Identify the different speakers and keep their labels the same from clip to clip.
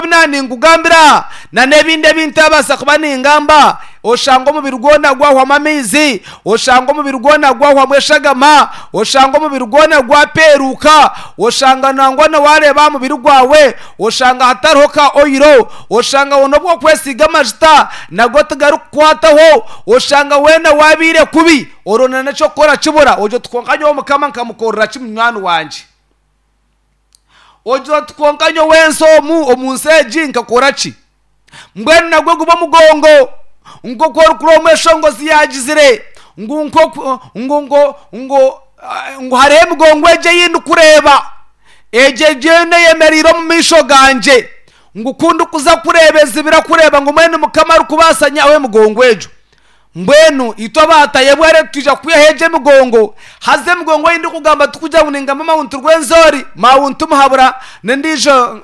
Speaker 1: ebi naaninkugambira aha, na n'ebindi ebi ntaabaasa kuba ningamba, oshanga omubiri gwona gwahwamu amaizi, oshanga omubiri gwona gwahwamu eshagama, oshanga omubiri gwona gwapeeruuka, oshanga nangwa na waareeba aha mubiri gwawe, oshanga hatariho ka oiro, oshanga weena obu orikwesiiga amajuta nago tigarikukwataho, oshanga weena waabaire kubi, oronda n'eky'okukora kibura, ogira oti kwonka nyowe Mukama nkamukorera ki munywani wangye? Ogira oti kwonka nyowe ensi omu, omu nsi egi nkakora ki? Mbwenu nagwo guba omugongo nk'oku orikureeba omweshongozi yaagizire ngu nk'oku ngu ngu ngu ngu hariho emigongo egi ei ndikureeba, egi eriyo eyemereire omu maisho gangye, ngu ku ndikuza kureeba ezibira kureeba ngu mbwenu Mukama arikubaasa nyihaho emigongo egyo. Mbwenu itwe abaatayebwa reero twija kwihaho egyo emigongo. Haza emigongo ei ndikugamba tikugira ngu ningamba Mount Rwenzori, Mount Muhabura n'endiijo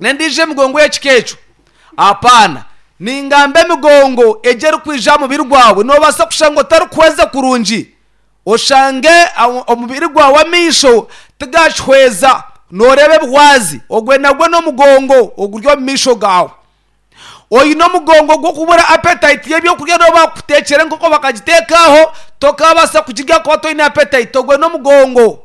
Speaker 1: n'endiijo emigongo ey'ekika ekyo. Apaana. Ningamba emigongo egyo erikwija aha mubiri gwawe. Noobaasa kushanga otarikuhweza kurungi, oshange omubiri gwawe amaisho tigakihweza, nooreeba ebihwazi. Ogwe nagwo n'omugongo oguri omu maisho gaawe. Oine omugongo gw'okubura appetite y'ebyokurya n'obu bakutekyera enkoko bakagiteeka aho, tokaabaasa kugirya ahakuba toine appetite, ogwo n'omugongo.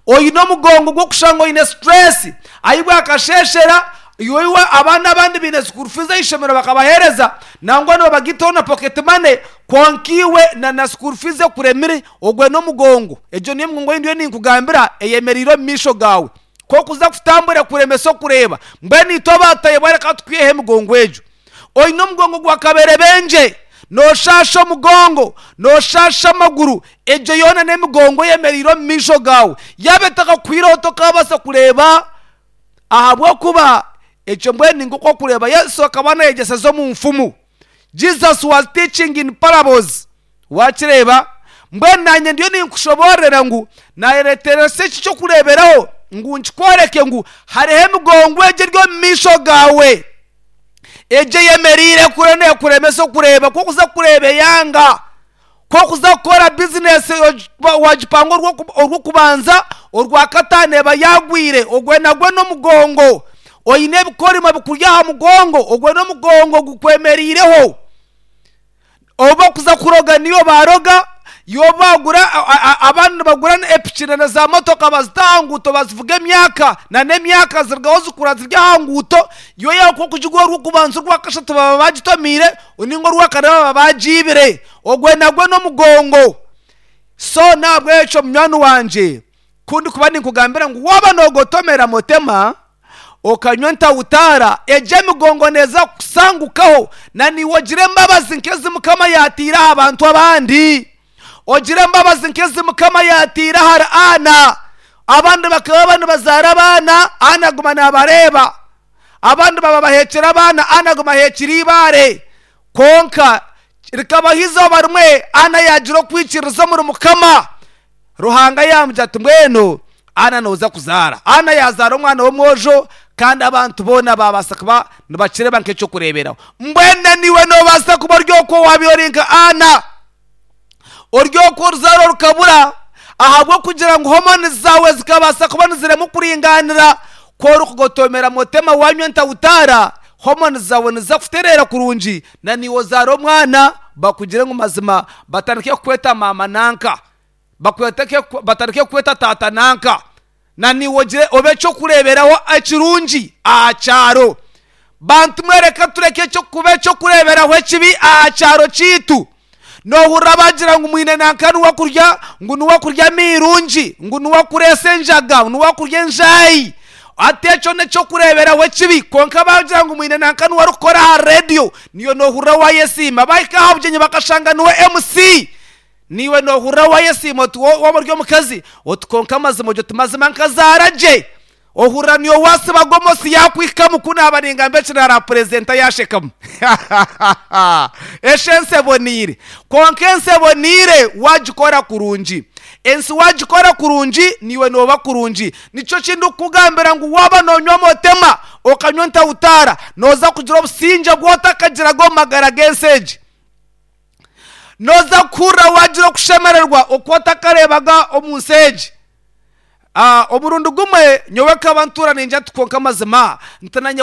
Speaker 1: Oine omugongo gw'okushanga oine stress, ahi bwakasheeshera iwe iwe abaana abandi baine school fees ah'eishomero bakabaheereza, nangwa nibabagitaho na pocket money, kwonka iwe na na school fees ekuremire, ogwo n'omugongo. Egyo niyo emigongo ei ndiyo ninkugambira eyemereire omu maisho gaawe. Ku okuza kutambura kuremesa okureeba. Mbwenu itwe abaatayebwa reka tukwiheho emigongo egyo. Oine omugongo gwa kaberebengye, nooshaasha omugongo, nooshaasha amaguru, egyo yoona n'emigongo eyemereire omu maisho gaawe. Yaaba etakakuhwireho tokaabaasa kureeba ahabw'okuba ekyo mbwenu ni nk'oku orikureeba Yesu akaba naayegyeseza omu nfumu. Jesus was teaching in parables. Waakireeba? Mbwenu naanye ndiyo ninkushoboororera ngu naayereeteresa eki ky'okureeberaho ngu nkikworeke ngu hariho emigongo egi eri omu maisho gaawe, egi eyemereire kure neekuremesa okureeba. Ku orikuza kureeba eyanga, ku orikuza kukora bizinesi waagipanga orw'okubanza, orwakataano eba yaagwire, ogwo nagwo n'omugongo. Oine ebikorimo bikuri aha mugongo, ogwo n'omugongo gukwemereireho. Obu bakuza kuroga niyo baroga, yo bagura abandi nibagura epiki na za motoka bazita aha nguuto bazivuga emyaka na n'emyaka zirugaho zikura ziri aha nguuto, yo yaaba nk'okugigura orw'okubanza orwakashatu baba bagitomiire ninga orwakana baba bagiibire. Ogwe nagwo n'omugongo. So n'ahabw'ekyo munywani wangye, ku ndikuba ninkugambira ngu waaba noogotomera motema, okanywa entautaara, egyo emigongo neeza kukusangukaho, na naiwe ogire embabazi nk'ezi Mukama yaataire aha bantu abandi. Ogire embabazi nk'ezi Mukama yaataire ahari Aana. Abandi bakaba nibazaara abaana, Aana aguma naabareeba. Abandi baba baheekire abaana, Aana aguma aheekire eibaare. Kwonka rikabaho eizooba rimwe, Aana yaagira okwikiririza omuri Mukama. Ruhanga yaamugira ati, Mbwenu Ana nooza kuzaara. Ana yaazaara omwana w'omwojo, kandi abantu boona baabaasa kuba nibakireeba nk'eky'okureeberaho. Mbwenu na naiwe noobaasa kuba ori okwo waabaire ori nka Ana, ori okwo oruzaaro rukabura ahabw'okugira ngu homoni zaawe zikabaasa kuba niziremwa kuringaanira. Ku orikugotomera motema waanywa entautaara, homoni zaawe niziza kutereera kurungi, na naiwe ozaare omwana bakugire ngu mazima batandike kukweta maama nanka. Batandike kukweta taata nanka, na naiwe ogire obe eky'okureeberaho ekirungi aha kyaro. Bantu mwe reka tureke kuba eky'okureeberaho ekibi aha kyaro kyaitu. Noohurira bagira ngu mwine nanka niwe akurya ngu niwe akurya amairungi, ngu niwe akureesa enjaga, niwe akurya enjaayi. Hati ekyo n'eky'okureeberaho ekibi. Kwonka baagira ngu mwine nanka niwe arikukora aha reediyo, niiwe noohurira waayesiima. Baahika aha bugyenyi bakashanga niwe MC. Naiwe noohurira waayesiima oti waaba ori omukazi oti kwonka amazima ogyo ti mazima nkazaara gye. Ohurira niiwe waasiba gomosi yaakuhikamu ku naaba ningamba eki naarapurezenta yaashekamu. Eshi ensi eboneire. Kwonka ensi eboneire waagikora kurungi. Ensi waagikora kurungi naiwe nooba kurungi. Nikyo ki ndikukugambira ngu waaba noonywa motema okanywa entautaara nooza kugira obusingye obu otakagiraga omu magara g'ensi egi. Nooza kuhurira waagira okushemererwa oku otakareebaga omu nsi egi. Omurundi gumwe nyowe nkaba ntuura ningira nti kwonka mazima nti nanye ku.